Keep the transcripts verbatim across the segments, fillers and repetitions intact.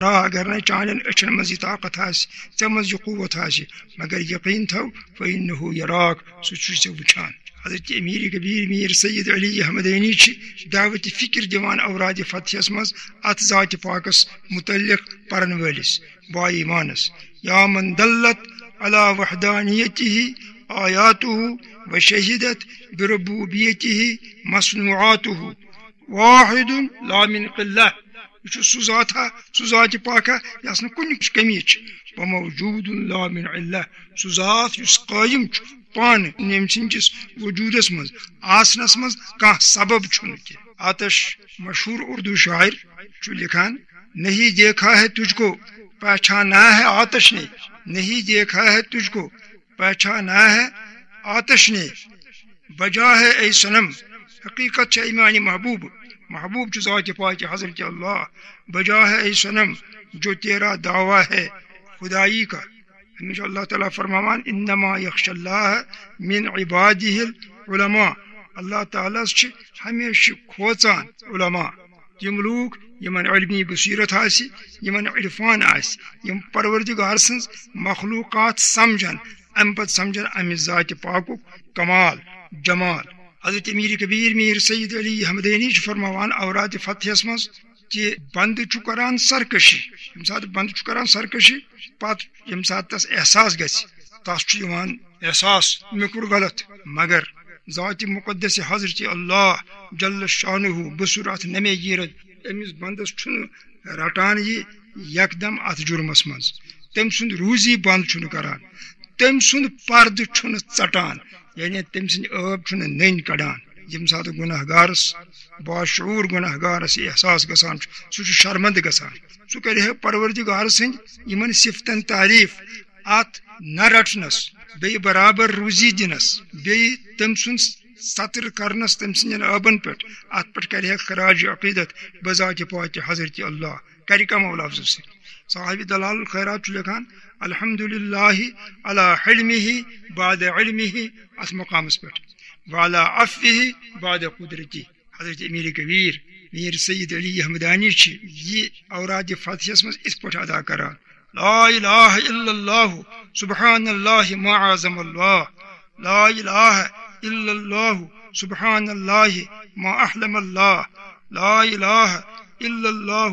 ترا، اگر نہٕ چانٮ۪ن أچھن منٛز یہِ طاقت آسہِ، ژےٚ منٛز یہِ قوت آسہِ، مگر یقیٖن تھاو، فإنه یراک، سُہ چھُے ژےٚ وٕچھان۔ حضرت امیر کبیر میر سید علی احمدینی چھِ دعوت فکر دِوان اوراد فتحس منٛز اتھ ذات پاکس متعلق پرن وٲلِس با ایمانس، یا من دلت علی وحدانیتہ آیاتہ و شہدت بربوبیتہ مصنوعاتہ، واحد لا من قلہ۔ یہِ چھُ سُہ ذات ہا، سُہ ذات پاک ہا، یَس نہٕ کُنہِ کمی چھِ۔ وموجود لا من علہ، سُہ ذات یُس قٲیِم چھُ پانہٕ، ییٚمہِ سٕنٛدِس وجوٗدس منٛز، آسنس منٛز کانٛہہ سبب چھُنہٕ کینٛہہ۔ آتش، مشہوٗر اردو شاعر، چھُ لیکھان، نہیں دیکھا ہے تجھ کو، پہچانا ہے آتش نے، نہیں دیکھا ہے تجھ کو، پہچانا ہے آتش نے، بجا ہے اے صنم، حقیقت چھے میانہِ محبوب، محبوب چھُ ذات پاک حضرت اللہ، بجا ہے اے صنم جو تیرا دعویٰ ہے خدائی کا۔ ہمیشہ اللہ تعالیٰ فرماوان، انما یخش اللہ من عبادہ العلماء، اللہ تعالیٰ ہس چھِ ہمیشہِ کھوژان علماء، تِم لوٗکھ یِمن علمی بصیرت آسہِ، یِمن عرفان آسہِ، یِم پروردگار سٕنٛز مخلوقات سمجھن، امہِ پتہٕ سمجھن امہِ ذاتِ پاکُک کمال، جمال۔ حضرت میر کبیر میر سید علی احمدینی چھُ فرماوان اوراد فتحس منٛز کہِ بندٕ چھُ کران سرکشی، ییٚمہِ ساتہٕ بندٕ چھُ کران سرکشی، پتہٕ ییٚمہِ ساتہٕ تس احساس گژھِ، تس چھُ یِوان احساس، مےٚ کوٚر غلط، مگر ذاتِ مقدس حضرت اللہ جل شانہ بصورت نمے گیرت، أمِس بندس چھُنہٕ رٹان یہِ یکدم اتھ جُرمس منٛز۔ تٔمۍ سُنٛد روزی بند چھُنہٕ کران، تٔمۍ سُنٛد پردٕ چھُنہٕ ژٹان، یعنی تٔمۍ سٕنٛدۍ عٲب چھُنہٕ نٔنۍ کڑان۔ ییٚمہِ ساتہٕ گناہ گارس، باشعوٗر گناہ گارس یہِ احساس گژھان چھُ، سُہ چھُ شرمندٕ گژھان۔ سُہ کرِ ہے پروردگار سٕنٛدۍ یِمن صفتن تعریف، اتھ نہ رٹنس، بیٚیہِ برابر روزی دِنس، بیٚیہِ تٔمۍ سُنٛد ستر کرنس تٔمۍ سٕنٛدٮ۪ن عٲبن پٮ۪ٹھ، اتھ پٮ۪ٹھ کرِ ہے خراج عقیدت بذات پاک حضرت اللہ، کرِ کمو لفظو سۭتۍ۔ صاحب دلال الخیرات چھُ لیکھان، الحمد للہ علی حلمہ بعد علمہ، اتھ مقامس پٮ۪ٹھ، وعلی عفوہ بعد قدرتی۔ حضرت امیر کبیر میر سید علی احمدانی چھِ یہِ اوراد فتحس منٛز اِتھ پٲٹھۍ ادا کران، لا الہ الا اللہ، سبحان اللہ ما اعظم اللہ، لا الہ الا اللہ، سبحان اللہ ما احلم اللہ، لا الہ الا اللہ،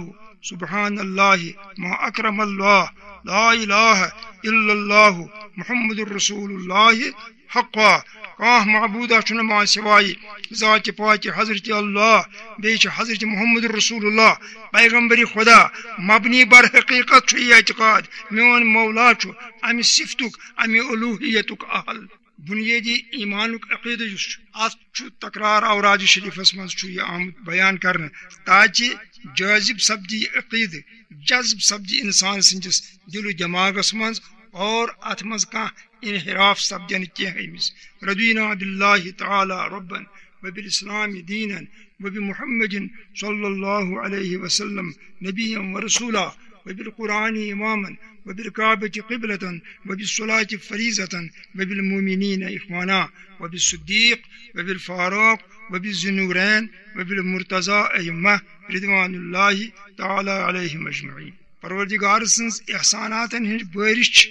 سبحان اللہ ما اکرم اللہ، لا الہ الا اللہ، محمد رسول اللہ حقا۔ کانٛہہ معبودا چھُنہٕ ما سوائے ذات پاک حضرت اللہ، بیٚیہِ چھُ حضرت محمد رسول اللہ، پیغمبر خدا، مبنی بر حقیقت چھُ یہِ اعتقاد، میون مولا چھُ امہِ صفتُک، امہِ الوہیتُک اہل۔ بنیٲدی ایمانُک عقیدٕ یُس چھُ، اتھ چھُ تکرار اوراد شریفس منٛز چھُ یہِ آمُت بیان کرنہٕ، تاکہِ جٲذب سپدِ یہِ عقیدٕ، جذب سپدِ انسان سٕنٛدِس دل و دماغس منٛز، اور اتھ منٛز کانٛہہ انحراف سپدِ نہٕ کینٛہہ أمِس۔ رضینا باللہ تعالی ربا وبالاسلام دینا وبمحمد صلی اللہ علیہ وسلم نبیا ورسولا وبالقرآن اماما وبالکعبۃ قبلة وبالصلاۃ فریضة وبالمؤمنین اخوانا وبالصدیق وبالفاروق وبالذینورین وبالمرتضی ائمہ رضوان اللہ تعالی علیہم اجمعین۔ پروردگار سٕنٛز احساناتن ہٕنٛز بٲرِش چھِ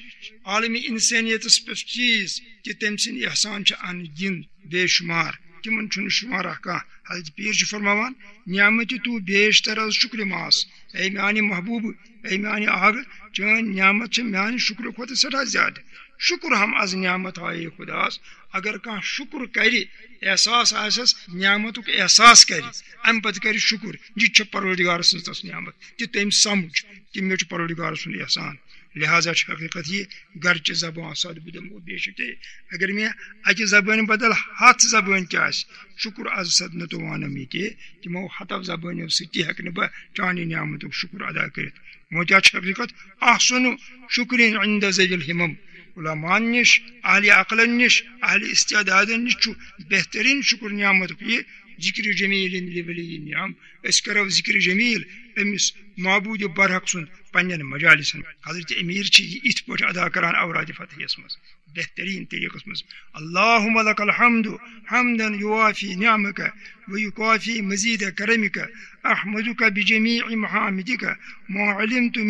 عالمِ انسانیتس پٮ۪ٹھ تیٖژ کہِ تٔمۍ سٕنٛدۍ احسان چھِ ان گِنٛد بے شُمار، تِمن چھُنہٕ شُمارا کانٛہہ۔ حضرت پیٖر چھُ فرماوان، نعمتِ تو بیشتر از شکر ماس، اے میانہِ محبوبہٕ، اے میانہِ آغہٕ، چٲنۍ نعمت چھِ میانہِ شُکرٕ کھۄتہٕ سٮ۪ٹھاہ زیادٕ۔ شکر ہم از نعمت آیے خداس، اگر کانٛہہ شکر کرِ، احساس آسٮ۪س، نعمتُک احساس کرِ، امہِ پتہٕ کرِ شکر، یہِ تہِ چھِ پروردگار سٕنٛز تس نعمت، تہِ تٔمۍ سمجھ کہِ مےٚ چھُ پروردگار سُنٛد احسان۔ لہذا چھِ حقیقت یہِ، گرچہِ زبان سد بہٕ دِمو بیشکے، اگر مےٚ اکہِ زبٲنۍ بدل ہتھ زبٲنۍ تہِ آسہِ، شکر از سد نہٕ تو وانم یہِ کہِ، تِمو ہتو زبٲنیو سۭتۍ تہِ ہیٚکہٕ نہٕ بہٕ چانہِ نعمتُک شکر ادا کٔرِتھ۔ وۄنۍ کیٛاہ چھِ حقیقت؟ احسن شکرین عند ذوی الہمم، علماءن نِش، اہل عقلن نِش، اہل استعدادن نِش چھُ بہترین شکر نعمتُک یہِ، ذکر جمیل لولی نعم، أسۍ کرو ذکر جمیل أمِس معبود برحق سُنٛد پننٮ۪ن مجالسن۔ حضرت امیر چھِ یہِ اِتھ پٲٹھۍ ادا کران اوراد فتحیس منٛز، بہترین طریقس منٛز، اللہم لک الحمد حمدا یوافی نعمک ویکافی مزید کرمک، احمدک بجمیع محامدک ما علمت